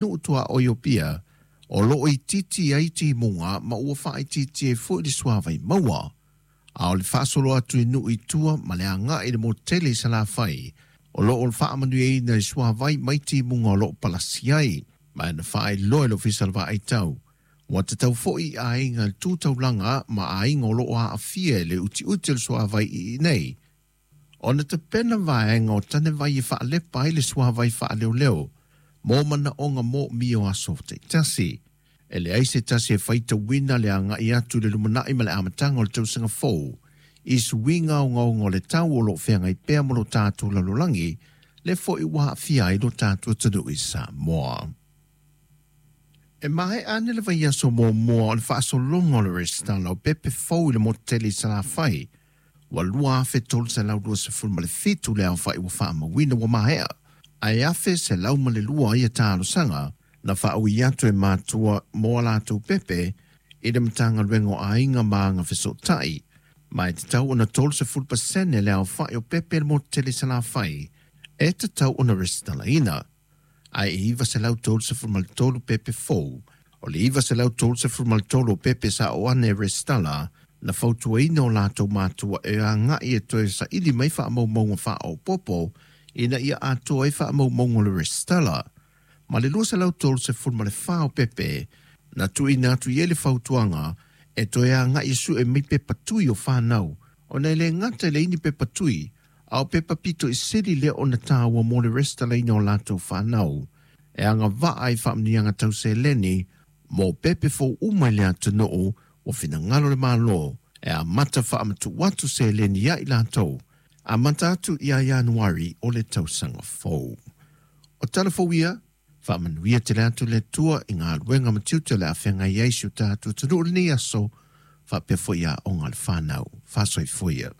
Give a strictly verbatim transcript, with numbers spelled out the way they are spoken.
Nuu tuaoi o Apia, o loo itiiti ai timuga ma ua faaitiitia ai foi le suavai maua. A o le faasolo atu i nuu i tua ma le agai i le motu tele i Salafai, o loo faamanuiaina i suavai mai timuga o loo palasi ai. Ma na faailoa e le Ofisa o le Vaai Tau, ua tatau foi i aiga i le tu taulaga ma aiga o loo aafia i le utiuti o le suavai i nei ona tapena vaega o tanevai e faalepa ai le suavai faaleoleo mo manaoga moomia o aso taitasi. E leai se tasi e faitauina le agai atu i le lumanai ma le amataga o le tausaga fou i suiga ogaoga o le tau o loo feagai pea ma lo tatou lalolagi, le foi ua aafia ai lo tatou atunuu i Samoa. E maea ane le vaiaso muamua o le faasologa o le resitala o pepe fou i le motu tele i Salafai, ua lua afe tolu selau luasefulu ma le fitu le aofai ua faamauina ua maea, ae afe selau ma le lua ia talosaga na faaui atu e matua mo a latou pepe i le Matagaluega o Aiga ma Agafesootai. Ma e tatau ona tolusefu pasene le aofai o pepe i le motu tele i Salafai e tatau ona resitalaina, ae e iva selau tolusefu ma le tolu pepe fou. O le iva selau tolusefu ma le tolu o pepe sa oo ane e resitala, na fautuaina o latou matua e agai e toe saili mai faamaumauga faaopoopo ina ia atoa ai faamaumauga o le resitala. Ma le lua selau tolusefu ma le fa o pepe na tuuina atu i ai le fautuaga e toe agai e sue mai pepa tui o fanau, ona e le gata i leai ni pepa tui, a o pepa pito i sili lea ona taua mo le resitalaina o latou fanau e agavaa i faamanuiaga tau seleni mo pepe fou uma i le atunuu. Ua finagalo le Malo e amata faamatuu atu seleni ia i latou amata atu ia Ianuari o le tausaga fou. O tala fou ia, faamanuia tele atu le Atua i galuega ma tiute o le a feagai ai si o tatou atunuu i lenei aso, faapea foi aoga a le fanau. Faasoifua ia.